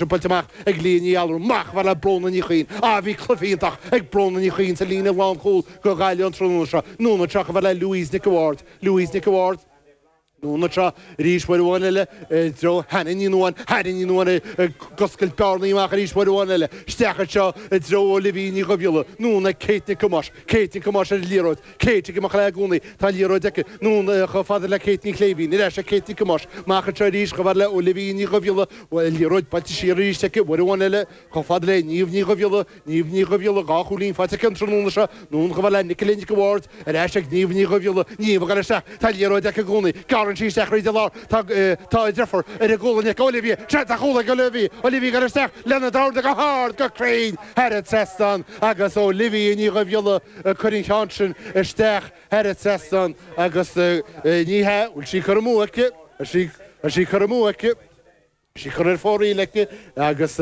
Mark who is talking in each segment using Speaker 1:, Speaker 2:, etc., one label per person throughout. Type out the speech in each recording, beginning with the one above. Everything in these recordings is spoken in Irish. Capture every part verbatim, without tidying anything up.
Speaker 1: Buailte amach ag Lia Ní Allúin amach le Bróna Ní Chuinn a bhí cluiche iontach ag Bróna Ní Chuinn sa líne lánchúil do Ghaillimh an tráthnóna seo anonn anseo le Louise Nic Ward Louise Nic Ward Anonn anseo arís uair amháin eile i dtreo Hannah Ní Nuadháin Hannah Ní Nuadháin ag oscailt bearnaí amach arís uair amháin eile isteach anseo i dtreo Olivia Ní Dhubhghiolla anonn ag Kate Nic Thomáis Kate Nic Thomáis ar an liathróid Kate ag imeacht léi i gcónaí tá an liathróid aici anonn chomh fada le Kate Ní Chléibhín ar ais ag Kate Nic Thomáis amach anseo arís chomh fada le Olivia Ní Dhubhghiolla liathróid buailte siar arís aici uair amháin eile chomh fada le Niamh Ní Dhubhghiolla Niamh Ní Dhubhghiolla dhá chúilín faighte aici an tráthnóna seo anonn chomh fada le Nicola Nic Ward ar ais ag Niamh Ní Dhubhghiolla Niamh ag isteach tá liathróid aici i gcónaí gearrann sí isteach tríd an lár tá tá deirfiúr ar a gualainn ag Olivia seans ar chúl ag Olivia Olivia ag isteach lena dorn go hard go cruinn thar an trasnán agus Olivia Ní Dhubhghiolla chuir an ceann sin isteach thar an trasnán agus ní hea bhfuil sí curtha amú aici sí sí curtha amú aici Sí curtha ar fóraoil aici agus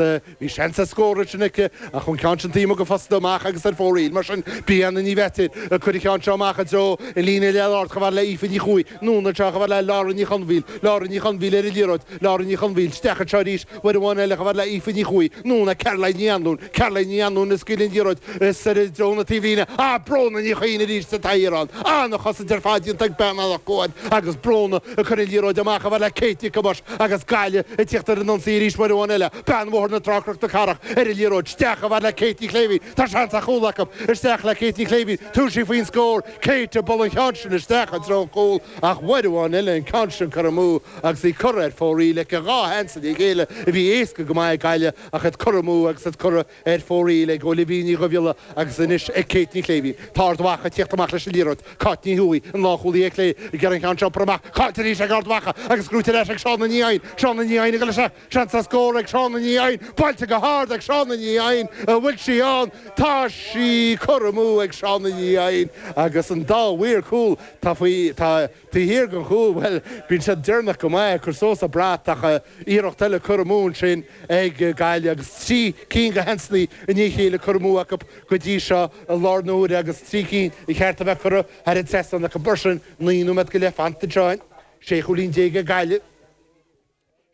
Speaker 1: bhí seans ar scór sin aici ach an ceann sin taobh go fosta amach agus ar fóraoil mar sin Brianna Ní Bheatir chuir an ceann seo amach i dtreo i líne leath chomh fada le Aoife Ní Chuaig anonn anseo chomh fada le Laura Ní Chonmhaoil Laura Ní Chonmhaoil ar an liathróid Laura Ní Chonmhaoil isteach anseo arís uair amháin eile chomh fada le Aoife Ní Chuaig anonn Caroline Ní Anluain Caroline Ní Anluain ag scaoileadh an liathróid is ar i dtreo na taobhlíne a Bróna Ní Chuinn arís sa taobhlíne an-chosaint ar fad déanta ag bean Loch Cuan agus Bróna a chuir an liathróid amach chomh fada le Kate Nic Thomáis agus Gaillimh ag tíocht ar an ionsaí arís uair amháin eile bean Bhóthar na Trá na Cathrach ar an liathróid isteach chomh fada le Kate Ní Chléibhín Tá seans ar chúl acu isteach le Kate Ní Chléibhín tabharfaidh sí faoin scór Kate buaileann an ceann sin isteach i dtreo chúl ach uair amháin eile an ceann sin curtha amú agus í curtha ar fóraoil aici dhá sheans i gcéile a bhí éasca go maith ag Gaillimh ach iad curtha amú agus iad curtha ar fóraoil ag Olivia Ní Dhubhghiolla agus anois ag Kate Ní Chléibhín Tá Ard Mhacha ag tíocht amach leis an liathróid Cáit Ní Thuaidh an lánchúlaí ar clé ag an ceann seo amach Cáit arís ag Ard Mhacha agus gnóthaithe ar ais ag Seán Ní Eidhin Seán Ní Eidhin go leis seans ar scór ag Seán Ní Eidhin buailte go hard ag Seán Ní Eidhin a bhfuil sí an tá sí curtha amú ag Seán Ní Eidhin agus an dá mhaor cúil tá faoi tá taobh thiar den chúl well bíonn sé déanach go maith cur suas an brat ach iarracht eile curtha amú ansin ag Gaillimh agus trí cinn de sheansanna i ndiaidh a chéile curtha amú acu go dtí seo i láthair na huaire agus trí cinn ba cheart a bheith curtha thar an trasnán acu mar sin naoi nóiméad go leith fanta anseo sé chúilín déag ag Gaillimh.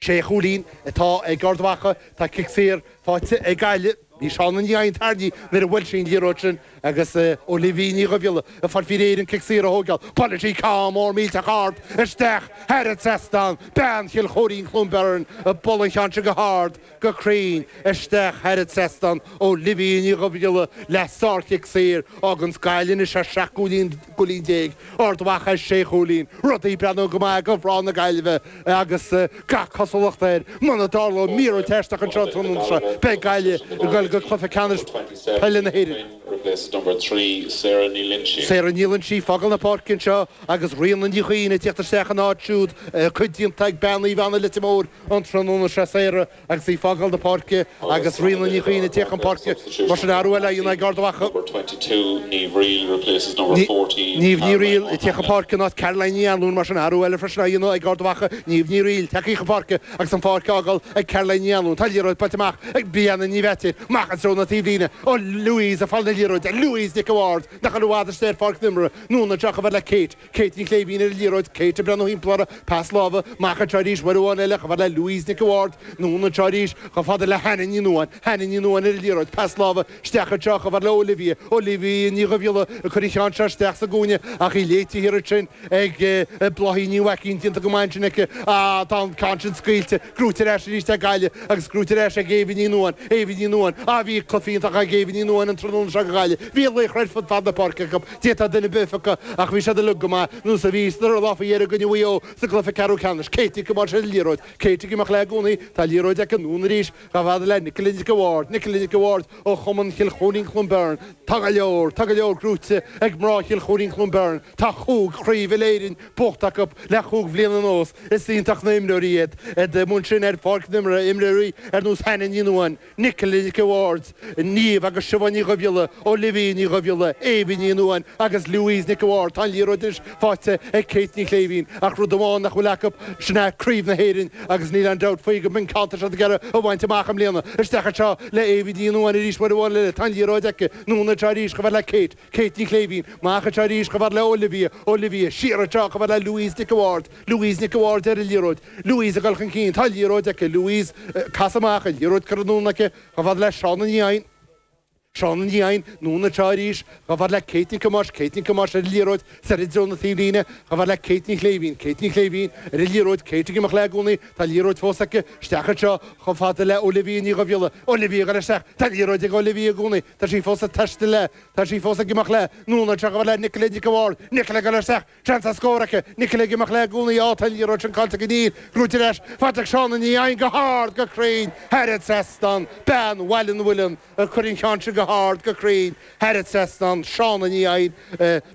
Speaker 1: Sé chúilín atá ag Ard Mhacha tá cic saor faighte ag Gaillimh Bhí Seán Ní Eidhin tarraingthe nuair a bhuail sí an liathróid sin agus Olivia Ní Dhubhghiolla ag fáil faoi réir an cic saor a thógáil Buaileann sí ceann mór millteach ard isteach thar an trasnán bean Chill Chóirín Cluain Bheirn buaileann an ceann sin go hard go cruinn isteach thar an trasnán Olivia Ní Dhubhghiolla le sárchic saor agus Gaillimh anois ar seacht gcúilín gcúilín déag Ard Mhacha sé chúilín rudaí ag breathnú go maith do mhná na Gaillimhe agus gach cosúlacht air muna dtarlóidh míorúilt aisteach anseo tráthnóna seo beidh Gaillimh ag dul go cluiche ceannais peile na hÉireann.
Speaker 2: Number three, Sarah Ní Loinsigh.
Speaker 1: Sarah Ní Loinsigh ag fágáil na páirce anseo agus Ríona Ní Chuinn ag tíocht isteach an áit siúd cuid déanta ag bean Uí Bheanna Leitir Móir an tráthnóna seo Sarah agus í ag fágáil na páirce agus Ríona Ní Chuinn ag tíocht chun páirce mar sin athrú eile ag Ard Mhacha.
Speaker 2: Number twenty-two, Niamh Reel replaces number fourteen.
Speaker 1: Niamh Ní Riail ag tíocht chun páirce in áit Caroline Ní Anluain mar sin athrú eile freisin ag Ard Mhacha Niamh Ní Riail tagtha chun páirce agus an pháirc á fágáil ag Caroline Ní Anluain Tá liathróid buailte amach ag Brianna Ní Bheatir amach i dtreo na taobhlíne ó Louise ag fáil na liathróide Louise Nic Ward nach bhfuil i bhfad istigh ar pháirc na himeartha anonn anseo chomh fada le Kate Kate Ní Chléibhín ar an liathróid Kate ag breathnú timpeall uirthi pas láimhe amach anseo arís uair amháin eile chomh fada le Louise Nic Ward anonn anseo arís chomh fada le Hannah Ní Nuadháin Hannah Ní Nuadháin ar an liathróid pas láimhe isteach anseo chomh fada le Olivia Olivia Ní Dhubhghiolla ag cur an ceann seo isteach sa gcúinne ach í léite thiar ansin ag Bláithín Ní Mhaicín déanta go maith ansin aici á tá an ceann sin scaoilte gnóthaithe ar ais arís ag Gaillimh agus gnóthaithe ar ais ag Éabha Ní Nuadháin Éabha Ní Nuadháin á bhí cluiche iontach ag Éabha Ní Nuadháin an tráthnóna seo do Ghaillimh Bhí laochra ar fud fad na páirce acu d'fhéadfadh duine ar bith a phiocadh ach bhí siad uilig go maith nós a bhí sna lá faoi dheireadh i gcoinne Mhaigh Eo sa gcluiche ceathrú ceannais Katie ag coimeád ar an liathróid Katie ag imeacht léi i gcónaí tá liathróid aici anonn arís chomh fada le Nicola Nic Ward Nicola Nic Ward ó Chumann Chill Chóirín Cluain Bheirn Tá go leor tá go leor gnóthaithe ag mná Chill Chóirín Cluain Bheirn Tá cúig chraobh uile-Éireann buachta acu le cúig bhliain anuas is iontach na himreoirí iad iad amuigh ansin ar pháirc na himeartha imreoirí ar nós Hannah Ní Nuadháin Nicola Nic Bhaird, Niamh agus Siobhán Ní Dhubhghiolla, Olivia Ní Dhubhghiolla, Éabha Ní Nuáin agus Louise Nic Bhaird. Tá an liathróid anois faighte ag Kate Ní Chléibhín ach rud amháin nach bhfuil acu sin é Craobh na hÉireann agus níl aon dabht faoi go mb'in ceann atá siad ag iarraidh a bhaint amach i mbliana. Isteach anseo le Éabha Ní Nuáin arís uair amháin eile. Tá an liathróid aici. Anonn anseo arís chomh fada le Kate. Kate Ní Chléibhín. Amach anseo arís chomh fada le Olivia. Olivia siar anseo chomh fada le Louise Nic Bhaird. Louise Nic Bhaird ar an liathróid. Louise ag dul chun cinn. Tá liathróid aici. Louise cas amach an liathróid curtha anonn aici chomh fada le Shauna Ní Eidhin. Shauna Ní Eidhin anonn anseo arís chomh fada le Kate Nic Thomáis, Kate Nic Thomáis ar an liathróid soir i dtreo na taobhlíne chomh fada le Kate Ní Chléibhín, Kate Ní Chléibhín ar an liathróid, Kate ag imeacht léi i gcónaí, tá liathróid fós aici, isteach anseo chomh fada le Olivia Ní Dhubhghiolla, Olivia ag dul isteach, tá liathróid ag Olivia i gcónaí, tá sí fós ag taisteal léi, tá sí fós ag imeacht léi, anonn anseo chomh fada le Nicola Nic Bhaird, Nicola ag dul isteach, seans ar scór aici, Nicola ag imeacht léi i gcónaí, á tá an liathróid sin caillte go Níl, gnóite ar ais, faighte ag Shauna Ní Eidhin go hard go cruinn, thar an trasnán, bean Bhaile an Mhuilinn a chuir an ceann sin go hard go cruinn thar an trasnán, Shauna Ní Eidhin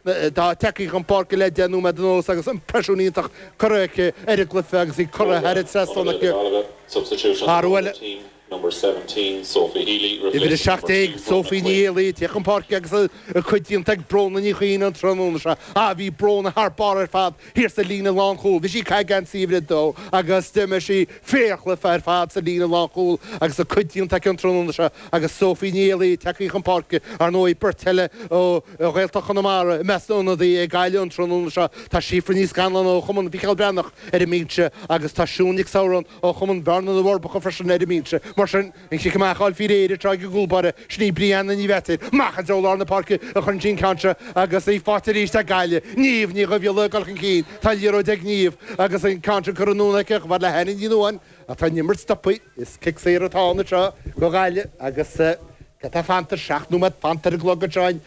Speaker 1: atá tagtha chun páirce le deich nóiméad anuas agus impressiún iontach curtha aici ar an gcluiche agus í curtha thar an trasnán aici.
Speaker 2: Substitution
Speaker 1: Athrú eile.
Speaker 2: team number seventeen Sophie Healy
Speaker 1: Uimhir a seacht déag Sophie Ní Éalaí ag teacht chun páirce agus a cuid déanta ag Bróna Ní Chuinn an tráthnóna seo. Á bhí Bróna thar barr ar fad thiar sa líne lánchúil. Bhí sí ag caitheamh geansaí uimhir a dó agus d'imir sí fíorchluiche ar fad sa líne lánchúil agus a cuid déanta aici an tráthnóna seo agus Sophie Ní Éalaí tagtha chun páirce ar ndóigh beirt eile ó Ghaeltacht Chonamara i measc na n-ionadaí ag Gaillimh an tráthnóna seo. Tá Síofra Ní Scanláin ó Chumann Mhicheál Breathnach ar an mbinse agus tá Siún Nic Samhrann ó Chumann Bhearna na bhForbacha freisin ar an mbinse. Mar sin an cic amach á fháil faoi réir atá ag an gcúlbáire sin í Brianna Ní Mheatair. Amach i dtreo lár na páirce a chuireann sí an ceann seo agus í faighte arís ag Gaillimh. Niamh Ní Dhubhghiolla ag dul chun cinn. Tá liathróid ag Niamh agus an ceann sin curtha anonn aici chomh fada le hAnna Ní Nuáin atá an imirt stoptha is cic saor atá ann anseo go Gaillimh agus cad tá fanta seacht nóiméad fanta ar an gclog anseo ar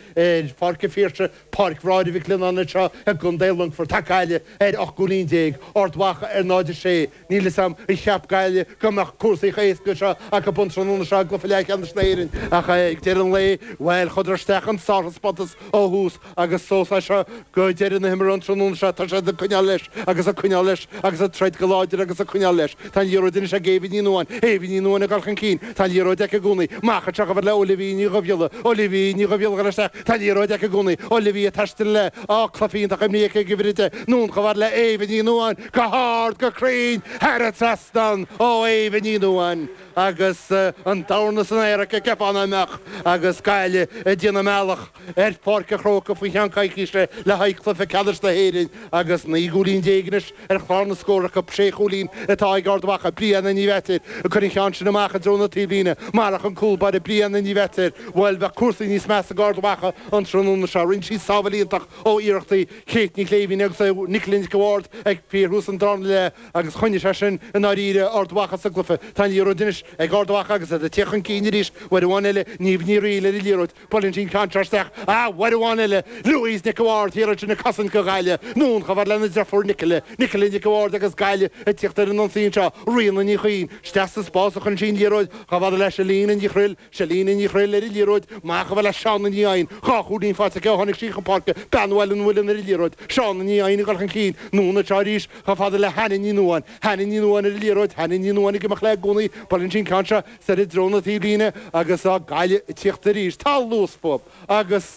Speaker 1: Pháirc an Phiarsaigh, Páirc Bhráithre Mhic Lionnáin anseo i gContae Longfoirt. Tá Gaillimh ar ocht gcúilín déag, Ard Mhacha ar náid a sé. Níl a fhios agam ar cheap Gaillimh go mbeadh cúrsaí chomh héasca seo acu an tráthnóna seo i gcluiche leathcheannais na hÉireann ach ag deireadh an lae bhuel chuadar isteach an sárthaispeántas ó thús agus suas leis seo go deireadh na himeartha an tráthnóna seo tá siad ag coinneáil leis agus ag coinneáil leis agus ag troid go láidir agus ag coinneáil leis. Tá an liathróid anois ag Éabha Ní Nuáin, Éabha Ní Nuáin ag dul chun cinn, tá an liathróid aici i gcónaí. Amach anseo chomh fada le Olivia Ní Dhubhghiolla, Olivia Ní Dhubhghiolla ag dul isteach, tá an liathróid aici i gcónaí. Olivia ag taisteal léi, á cluiche iontach imrithe aici ag uimhir a deich, anonn chomh fada le Éabha Ní Nuáin, go hard go cruinn thar an trasnán ó Éabha Ní Nuáin agus an dorn san aer aici ceapán amach agus Gaillimh ag déanamh a mbealach ar Pháirc an Chrócaigh faoi cheann coicíse le haghaidh cluiche ceannais na hÉireann agus naoi gcúilín déag anois ar chlár na scór acu sé chúilín atá ag Ard Mhacha Brianna Ní Mheatair ag cur an cheann sin amach i dtreo na taobhlíne marach an cúlbáire Brianna Ní Mheatair bhuel bheadh cúrsaí níos measa ag Ard Mhacha an tráthnóna seo rinne sí sábháil iontach ó iarrachtaí Kate Ní Chléibhín agus Nicola Nic Bhaird ag fíorthús an darna leath agus choinnigh sé sin i ndáiríre Ard Mhacha sa gcluiche Tá an liathróid anois ag Ard Mhacha agus iad ag teacht chun cinn arís uair amháin eile Niamh Ní Fhrighil ar an liathróid buaileann sí an ceann seo isteach á uair amháin eile Louise Nic Bhaird thiar ansin ag cosaint go Gaillimh anonn chomh fada lena deirfiúr Nicola Nicola Nic Bhaird agus Gaillimh ag teacht ar an ionsaí anseo Ríona Ní Chuinn isteach sa spás a chuireann sí an liathróid chomh fada le Selina Ní Chrill Selina Ní Chrill ar an liathróid amach chomh fada le Shauna Ní Eidhin dhá chúilín faighte aici ó tháinig sí chun páirce bean Bhaile an Mhuilinn ar an liathróid Shauna Ní Eidhin ag dul chun cinn anonn anseo arís chomh fada le Hanna Ní Nuáin Hanna Ní Nuáin ar an liathróid Hanna Ní Nuáin ag imeacht léi i gcónaí buaileann sí an ceann seo soir i dtreo na taobhlíne agus á Gaillimh ag teacht arís tá luas fúthu agus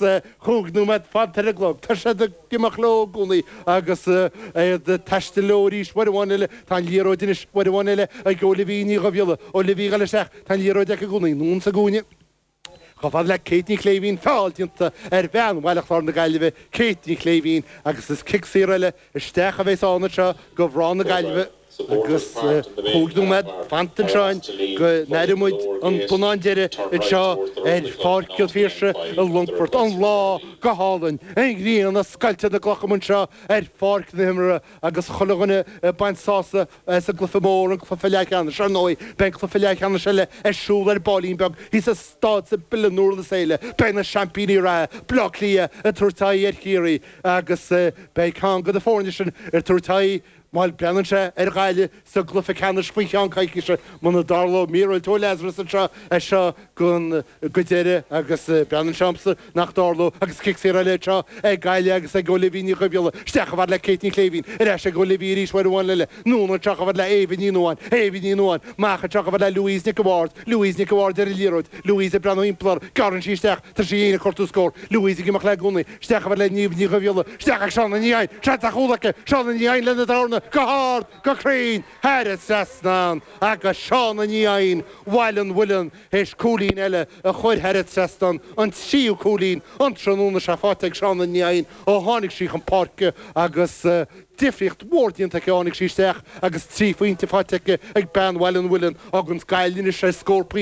Speaker 1: cúig nóiméad fanta ar an gclog tá siad ag imeacht leo i gcónaí agus iad ag taisteal leo arís uair amháin eile tá an liathróid anois uair amháin eile ag Olivia Ní Dhubhghiolla Olivia ag dul isteach tá an liathróid aici i gcónaí anonn sa gcúinne Chomh fada le Kate Ní Chléibhín feall déanta ar bhean Bhaile Chláir na Gaillimhe Kate Ní Chléibhín agus is cic saor eile isteach a bheas ann anseo go mná na Gaillimhe agus cúig nóiméad fanta anseo go n-aireoidh muid an bonnán deiridh anseo ar Pháirc an Phiarsaigh i Longfort an lá go hálainn an ghrian ag scoilteadh na gcloch anseo ar pháirc na himeartha agus chuile dhuine ag baint sásamh as an gcluiche mór an cluiche leathcheannais ar ndóigh beidh cluiche leathcheannais eile ar siúl ar baillín beag thíos i Staid Bill an Durlas Éile beidh na seaimpíní reatha Bleá Cliath ag tabhairt aghaidh ar Chiarraí agus beidh ceann de na foirne sin ag tabhairt aghaidh Má breathnaíonn sé ar Ghaillimh sa gcluiche ceannais faoi cheann coicíse muna dtarlóidh míorúilt ó Lazarus anseo anseo é seo go go deireadh agus breathnaíonn sé domsa nach dtarlóidh agus cic saor eile seo ag Gaillimh agus ag Olivia Ní Dhuibhghiolla isteach a fhad le Kate Ní Chléibhín ar ais ag Olivia arís uair amháin eile anonn anseo a fhad le Éabha Ní Nuáin Éabha Ní Nuáin amach anseo a fhad le Louise Nic Bhaird Louise Nic Bhaird ar an liathróid Louise ag breathnú timpeall gearrann sí isteach tá sí ag cuartú scór Louise ag imeacht le gúnaí isteach a fhad le Niamh Ní Dhuibhghiolla isteach ag Seán Ní Eidhin se a chúla Seán Ní Eidhin lena dorna go hard go cruinn thar an trasnán agus Seán Ní Eidhin Bhaile an Mhuilinn théis cúilín eile a chur thar an trasnán an tríú cúilín an tráthnóna seo faighte ag Seán Ní Eidhin ó tháinig sí chun páirce agus uh, difríocht mhór déanta aici tháinig sí isteach agus trí phointe faighte ag bean Bhaile an Mhuilinn agus Gaillimh sé scór